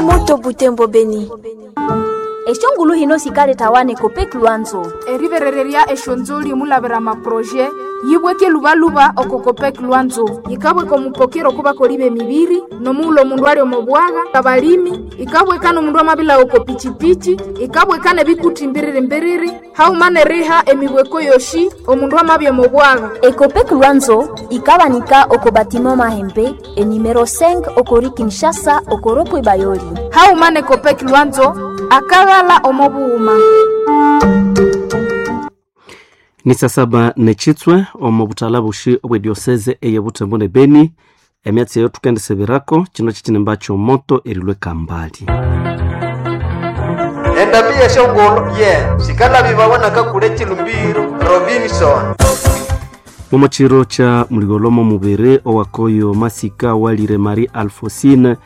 Moto Butembo Beni. Eshongulu hino sikaletawane Copec Lwanzo. Eriberererya eshonzoli mulavera maproje yibweke lubaluba oko Copec Lwanzo yikabweka omupokero kubakoli b'emibiri nomuula omundu ali omo bwaga abalimi ikabweka n'omundu amabila oko pichipichi ikabweka n'ebikuti mbiriri mbiriri hauma n'eriha emibweko yoshi omundu amabya omo bwaga. Ecopec Lwanzo ikabanika oko batiment Mahembe enumero 5 okori Kinshasa okoropwe Bayoli. Hauma ne Copec Lwanzo akaghala omo bughuma. Ni saa saba nechitswe omu butala bushi obwe diocese eye Butembo ne Beni emyatsi eyo tukendisebirako kino kikinimba kyomoto erilwe kambali. Endambi yeshongolo ye sikalabibawa nakakule chilumbiro Robinson. Mumo chiro cha muligolomo mubiri owakoyo masika walire Marie Alphonsine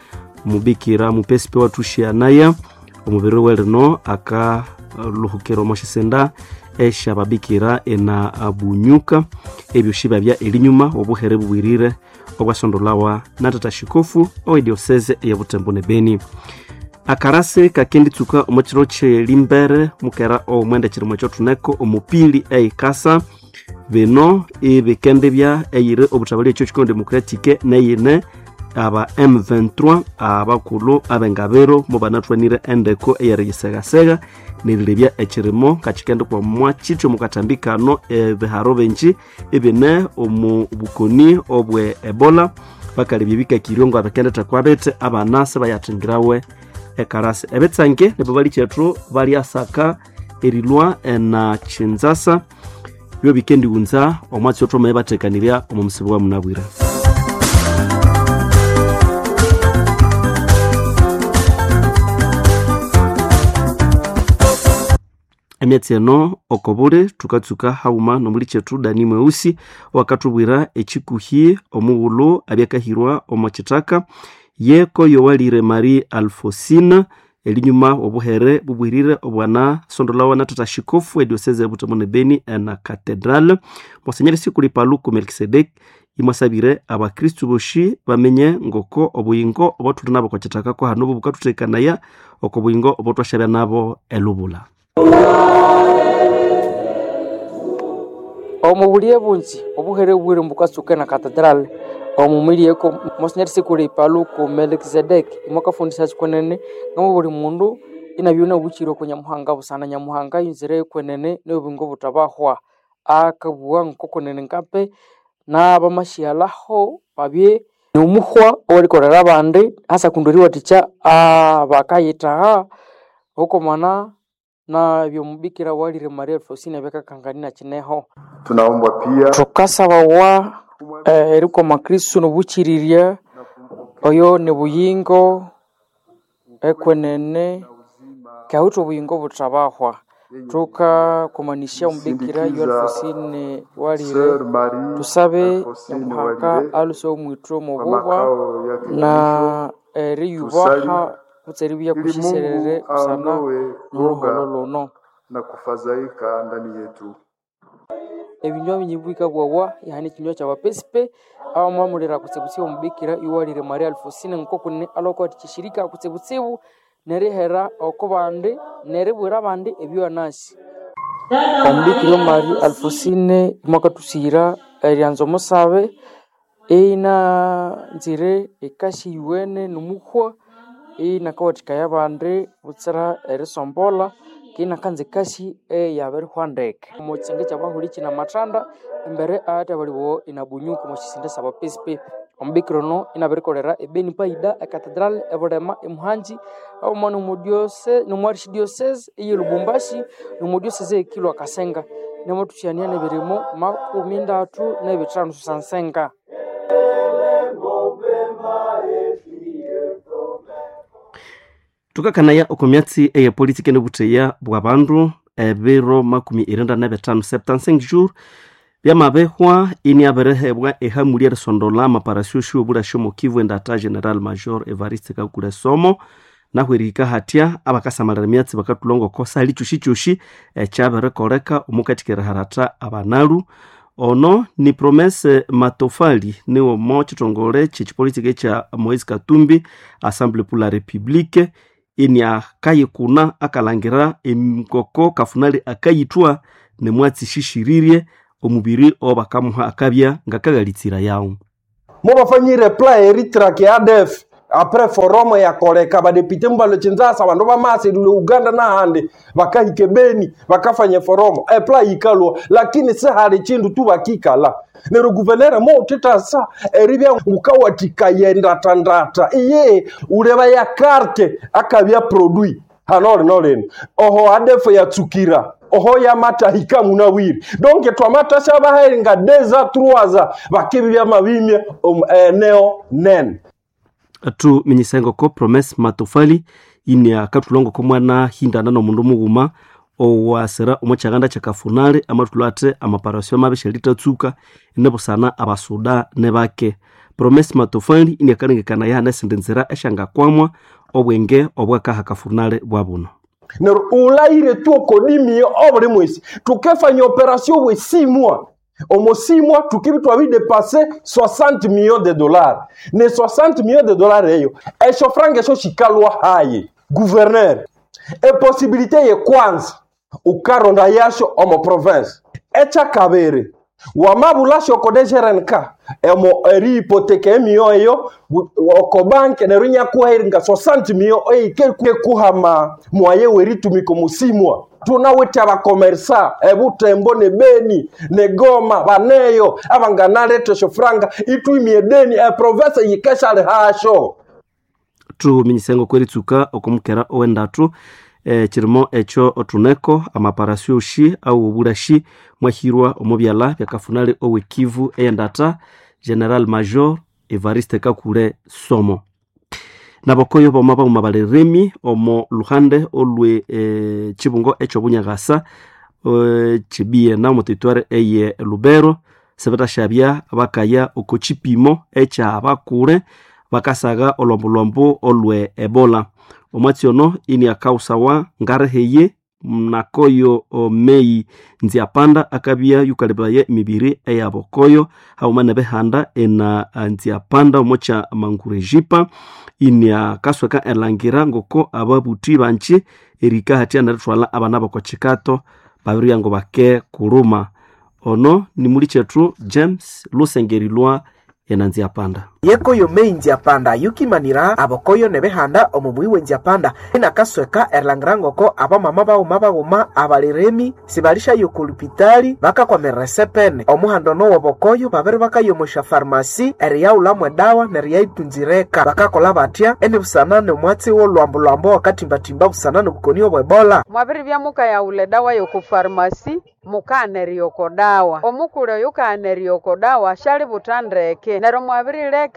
mubikira mupesipe watushianaya omubiri welino akaluhukira omo shisenda eshababikira ena bunyuka ebyo shibabya elinyuma obuhere bubwirire obwasondolawa na tata shikofu owe diocese ya Butembo ne Beni. Akarase kakenditsuka omo chiro kyelimbere mukera omwenda chirimo ekyothuneko omupili eikasa bino ibikendibya eyiri obutabali ekyo kikono democratique neyine aba M23 abakulhu abengabiro mubanathwanire endeko eyeriyisegasega nerilebya ekirimo kakikendi kwamwa kityo mukatambi kano ebiharo bingi ebine omu bukoni obwe Ebola bakalebya ebikakiryo ngo abikendetha kwabete abana sibayathingirawe ekarasi ebitsange nibo balikyethu balyasaka erilwa ena Kinshasa byo bikendighunza omwatsi othoma bathekanirya omu musibo wa munabwira. Emyatsi eno okobuli tukatsuka haghuma nomulikyethu Dani Mweusi owakathubwira ekikuhi omughulhu abyakahirwa omo kithaka yeko yowalire Marie Alphonsine elinyuma obuhere bubwirire obwana sondolawa na tata shikofu edioseze Butembo ne Beni ena Cathedral Monseigneur Sikuli Paluku Melkisedek imwasabire abakristu boshi bamenye ngoko obuyingo obothuli nabo okwa ko hano bukathuthekanaya oko buyingo obotwashabya nabo elubula. Omu buliye bungi obuhere bubwire bukatsuka na Cathedral omu milieko Monsignor Sikuli Paluku Melkisedek imwakafundisya kwenene ngamo buli mundu inabyuna obuchiro oko Nyamuhanga busana Nyamuhanga yunzire kwenene n'obuyingo obutabahwa akabugha ngoko kwenene nkape n'abamashyalhaho babye n'omuhwa owerikolera abandi hasa kundi eriwathikya abakayithaha okomana na byomubikira walire Maria Alphonsine byakakangania kineho. Tunaombwa pia thukasabawa erikoma Kristu nobuchirirya oyo ni buyingo ekwenene kyawithe obuyingo buthabahwa thukakomanisya omubikira yo Alphonsine walire Sœur Marie tusabe Alphonsine Nyamuhanga Walire aluse omwithu kwa omububa makao yake na mwisho, eriyubaha tusali kutse eribya ili kushiserere Mungu busana aondoe n'oruholo woga luno. na kufadhaika ndani yetu. Ebinywa binyi bikabwawa ihane ekinywa kyabapesipe abamwamulira kutsibutsibu omubikira iwalire Maria Alphonsine ngoko alwakuwathikya eshirika kutsibutsibu nerihera oko bandi neribwira abandi ebyoanasi. Omubikira Maria Alphonsine mwakathusiyira eryanza omusabe inanzire ekasi yuwene nomuhwa inakawathikaya abandi butsira erisombolha ke inakanza ekasi eyabirihwa ndeke. Omo kisenge kyabahuli kine amathanda embere ahathabalibawa inabunyuka omo kisinde syabapesipe. Omubikira ono inabirikolera ebeni paida ecathedral ebulema emuhanji haghuma nomu archdiocese eye Lubumbashi nomu diocese eye Kilwa Kasenga namathusyania nebirimo 35 sansenga. Tukakanaya oko myatsi eye politiki nobutheya bwa bandu ebiro 95 75 jours byamabehwa iniabirihebwa ehamuli erisondola amaparasio shiobula omo Kivu endata General Major Evariste Kakule Somo nahu erihika hatya abakasamalira emyatsi bakathulha ngoko sali kyosyi-kyosyi ekyabirikoleka omukathika eriharatha abanalu. Ono ni Promese Matofali niwomo chitongole chechipolitiki cha Moise Katumbi Assemblée pour la République ini akayikuna akalangira emikoko kafunali akayithwa nemwatsi shishiririe omubiri obakamuha akabya ngakaghalitsira yawo. Mubafanyire plan eritrake ADF apres forum yakoleka badepite mubalo Kinshasa bandu bamasi lule Uganda nahandi bakahike Beni bakafanya forum epla yikalwa, lakini sihali chindu tu bakikala nero guvernera mo titasa eribya ngukawatikayendata iye uleba ya carte akabya produit hanole nolene oho ADF yatsukira oho yamatahika munawiri donc twamatasha baherenga deza truaza bakibya mabimye eneo nene. Tuminyisa ko Promese Matofali ini akathulongo ko mwana hindana nomundu mughuma owasira omo kyaganda kyakafunali amathulho athi amaparasyo mabi syalitatsuka inibusana abasuda nibake. Promese Matofali ini akalengekana yahana esindi nzira esyangakwamwa obwenge obwakaha kafunali bwabuno. Nero ulaire tu okodimio obuli mwesi tukefanya operation bwesimwa omosimwa tukibi twabidepase 60 millions de dollars ne 60 millions de dollars eyo esho franga esho shikalwa haye gouverneur eposibilite ye kwanza ukaronda yasho omo province echakabere wamabulasho oko DGRNK emo eri hypothèque emiyo eyo oko banke neru nyakuheringa 60 millions eikekuhama mwaye weritumika musimwa tunawithe abakomersa ebutembo ne Beni ne Goma baneyo abanganaleta esyo franga itwimie deni eprovince yikeshali hasho. Tuminyisa kweritsuka okumukera owendatu kirimo ekyo othuneko amaparasyo oshi au obulashi mwahirwa omo byalha byakafunali owekivu eyendata General Major Evariste Kakule Somo. Nabokoyo boma bauma balirimi omo luhande olwe chibungo ekyobunyagasa chibiena omo territoire eye Lubero sebetashabya bakaya oko chipimo ekyabakure bakasaga olwambolwambo olwe Ebola. Omwatsi ono ini akausawa ngareheye nakoyo Mei Nziapanda akabya yukaleberaye emibiri eyabokoyo hauma nebihanda ena Nziapanda omokya Mangurejipa ini akasweka elangira ngoko ababuthi banji erika hathya nerithwalha abana bokokikato babiribya ngo bake kuluma. Ono ni muli kyethu James Lusengerilwa ena Nziapanda. Yekoyo Mei Nziapanda yukimanira abokoyo nebihanda omu muyi we Nziapanda inakasweka erilangira ngoko abamama baghuma baghuma abaliremi sibalishayo oku lupitali bakakwamirira esepene omuhanda ono wobokoyo babiri bakayomosha farmasi eriyaghulhamu edawa neriyayitunzireka bakakolha batya enibusana nomwatsi wolhwambolhwambo wakatimbatimba busana nobukoni obwe Ebola. Mwabiribya mukayaghulha edawa yoku farmasi mukaghana oko dawa omukuli oyu kaghana oko dawa syalibutha ndeke neryo mwabirileka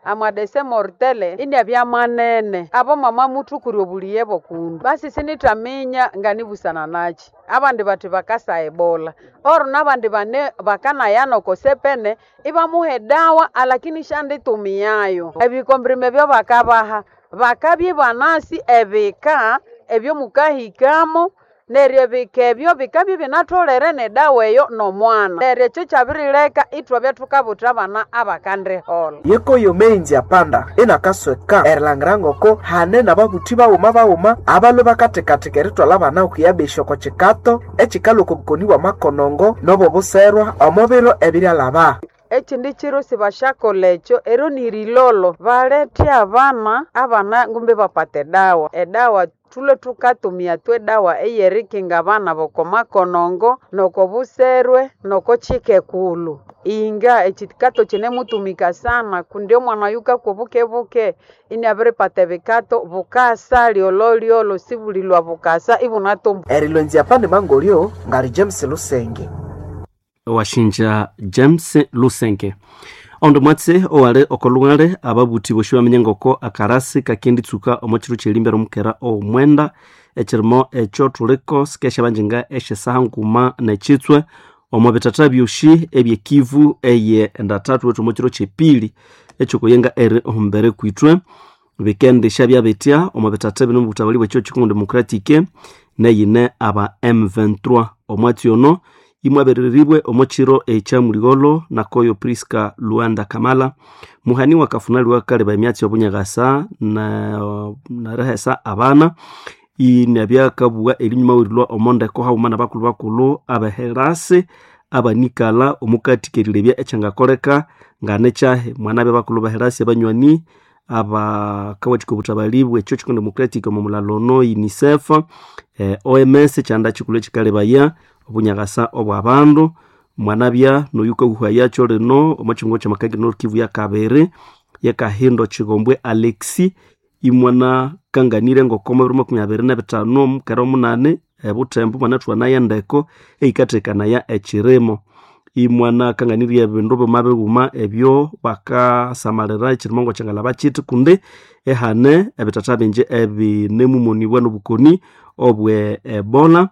amadese mortele inabya manene abo mama muthukurya obuliye bokundu basi sinithaminya nganibusana nakyi abandi bathi bakasa Ebola oro nabandi bane bakanayana oko sepene ibamuha edawa alakini syanditumiayo ebikombrime ebyobakabaha bakabya ibanasi ebika ebyomukahikamo neryo ebika ebyo bikabya ibinatholere nedawa eyo nomwana neryo ekyo kyabirileka ithwabya thukabutha abana abakandiholha. Yekoyo Mei Nziapanda inakasweka erilangira ngoko hane nababuthi baghuma baghuma abalwe bakathekatheka erithwalha abana okuyabesya oko kikato ekikalhwa oko bukoni bwa makonongo nobobuserwa omo biro ebiryalhaba. Ekindi kiro sibasyakolha ekyo ero nirilolo balethe abana abana ngumbi bapata edawa edawa thulwe thukatumia twedawa eyerikinga abana bokomakonongo nokobuserwe nokokikekulhu inga ekikato kinemutumika sana kundi omwana oyu kakwa bukebuke iniabiripata ebikato bukasa lyololyolo sibulilwa bukasa ibunatumbu. Erilwa Nziapanda mangolyo ngali James Lusenge. Washinja James Lusenge. Ondo mwatsi owali okolung'ale ababuthi bosi baminya ngoko akarasi kakenditsuka omo kiro kyerimbere omukera owomwenda ekirimo ekyo thuliko sikesyabanjinga esyasaha nguma nekitswe omo bithatha byosi ebyekivu eye endathathu wethu omo kiro kyepili ekyokuyenga eri ohumbere kwithwe bikendisya byabitya omo bithatha bino omubutabali bwekyo Congo Democratic neyine aba M23 omwatsi ono Imwabereribwe omo kiro ekya muligholo nakoyo Priska Luanda Kamala muhani wakafunali wakaleba emyatsi obunyakasa nerihesa abana inabyakabugha erinyuma werilwa omondeko haghuma nabakulhu bakulhu abeherasi abanikala omukati kerilebya ekyangakoleka nganekyahi mwanabya bakulhu beherasi abanywani abakawathika obuthabali bwe Church Democratic omo mulalo ono UNICEF, OMS kyanda kikulhu ekikalebaya obunyakasa obwa bandu mwanabya noyukahuhayakyo lino omo kyihungo kyamakangire North Kivu yakabiri yekahindo Kigombwe Alexi imwanakanganire ngoko mubiro 25 omukera omunani ebuthembo mwanathuwanaya endeko eyikathekanaya ekirimo imwanakanganirye ebindu bima bighuma ebyo bakasamalira ekirimo ngokyangalaba kithi kundi ehane ebithatha bingi ebinemumonibwa nobukoni obwe Ebola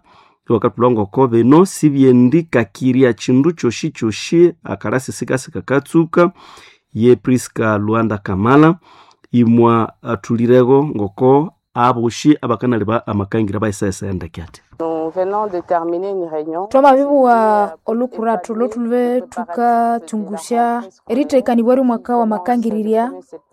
ibakathulha ngoko bino sibyendikakirya kindu kyosi kyosi akalasi sikasikakatsuka ye Priska Luanda Kamala imwa athulirego ngoko aboshi abakanaleba amakangira baisesa endeke ati Twamabibugha olukurathu lhothulube thukatsungusya erithekanibwa ry'omwaka wa makangirirya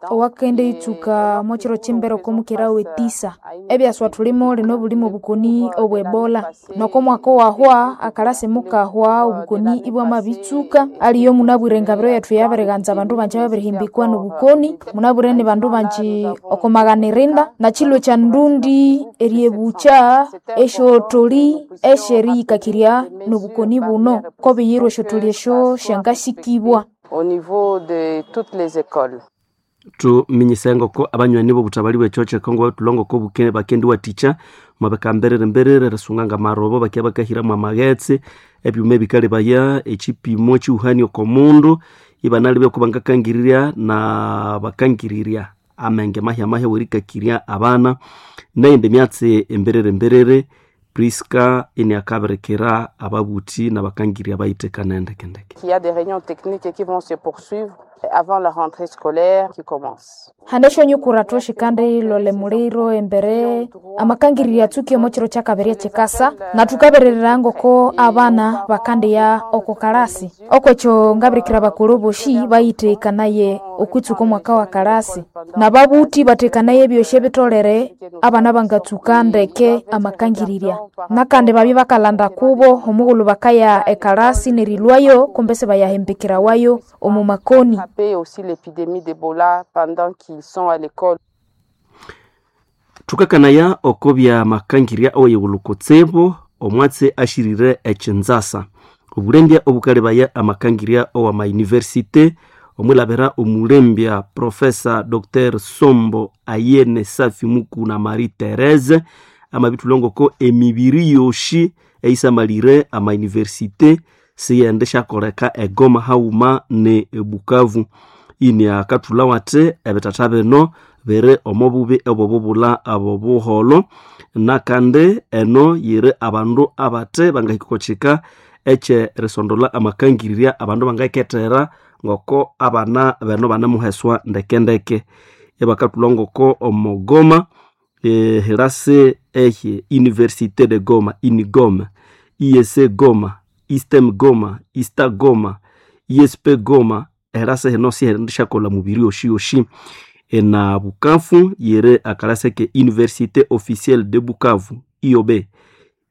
owakenditsuka omo kiro ky'imbere oko mukera w'etisa. Ebyaswa thulimo lino bulimo obukoni obwe Ebola. Noko mwaka owahwa akalasi mukahwa obukoni ibwamabitsuka aliyo munabwire engabiro yethu yabirighanza abandu banji ababirihimbikwa n'obukoni, munabwire ni bandu banji oko maghana irinda nakilwe kya ndundi eryebukya esyotholi esyeriyikakirya n'obukoni buno kobiyirwa esyotholi esyo syangasikibwa. Au niveau de toutes les écoles. Tuminyise ngoko abanywani b'obuthabali bw'ekyokyo ekongo bathulha ngoko bakendiwathikya mwabika mberere erisunga ngamarobo bakya bakahiramu amaghetse ebyuma ebikalebaya ekipimo ekihuhani oko mundu ibanalebya oko bangakangirirya na bakangirirya amenge mahya mahya werikakirya abana neyindi myatsi emberere mberere Priska iniakabirikira ababuthi nabakangirya bayithekana endekendeke. Il y a des réunions techniques qui vont se poursuivre avant la rentrée scolaire qui commence. Hane esyonyukurathu syikandilolha emuliro embere amakangirirya atsuke omo kiro kyakabiri ekyikasa na thukabererera ngoko abana bakandiya oko kalasi. Okwekyo ngabirikira abakulhu bosi bayithekanaye okwitsuka omwaka wa kalasi nababuthi bathekanaye ebyosi ebitholere abana bangatsuka ndeke amakangirirya. Nakandi babya bakalanda kubo omughulhu bakaya ekalasi nerilwayo kumbe sibayahimbikirawayo omu makoni. Aussi l'épidémie d'Ebola pendant qu'ils sont à l'école. Thukakanaya oko bya makangirya oweyighulhu kutsibu omwatsi ashirire ekinzasa obulembya obukalebaya amakangirya owa mayunivesite omwilabira omulembya Profesa Dr. Sombo Ayene Safi Mukuna Marie Therese amabithulha ngoko emibiri yosi eyisamalire amayunivesite siyende syakoleka egoma haghuma ne ebukavu. Ini akathulha wathi ebithatha bino biri omo bubi obwobubulha obo buholho nakandi eno yiri abandu abathe bangahika oko kika ekyerisondolha amakangirirya abandu bangayikethera ngoko abana beno banemuheswa ndekendeke. Ibakathulha ngoko omo Goma hirasi ehi Université de Goma INIGOM, IEC Goma, ISTEM Goma, ISTA Goma, ISP Goma erasa hino siherindi syakolha mubiri yosi yosi. Ena Bukavu yiri akalasi ke Université Officielle de Bukavu IOB,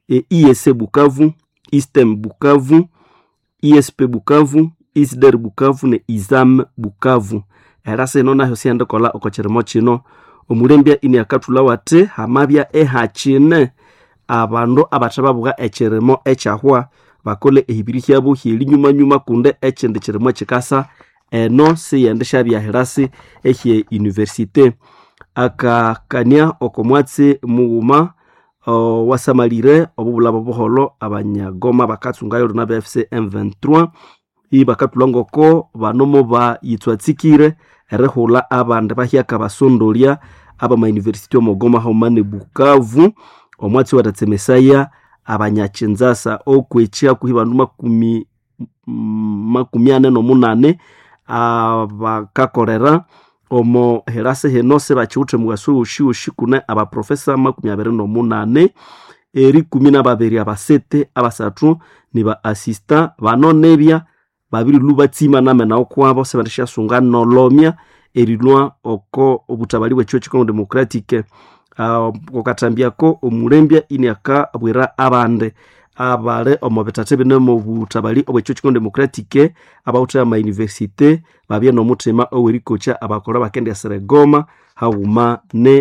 IEC Bukavu, ISTEM Bukavu, ISP Bukavu, ISDER Bukavu ne ISAM Bukavu. Erasa ino nayo sihendikolha oko kirimo kino. Omulembya ini akathulha wathi hamabya ehakine abandu abathe babugha ekirimo ekyahwa bakole ehibiri hyabo hyerinyumanyuma kundi ekindi kirimo ekikasa eno siyende syabya hirasi ehye universite. Akakania oko mwatsi mughuma wasamalire obubulha bobuholho abanyagoma bakatsungayo lino abe AFC M23 ibakathulha ngoko bano mubayitswatsikire erihulha abandi bahyaka basondolya abamayunivesity omo Goma haghuma ne Bukavu. Omwatsi watatsemesaya abanyakinzasa okwekya hakuhi bandu 48 abakakolera omo hirasi hino sibakiwithe mughaso woshiwoshi kune abaprofesa 28. Erikumi na babiri abasete abasathu ni ba assistant bano nebya babirilwa batsima namena okwabo sebandishasunga nolomya erilwa oko obutabali bw'ekigo Congo Democratic. Okatambiako omulembya iniakabwira abandi abale omo bitatha bine omu butabali obw'ekigo Congo Democratic abawuthe ama university babye n'omuthima owerikokya abakolha bakendiyasira egoma haghuma ne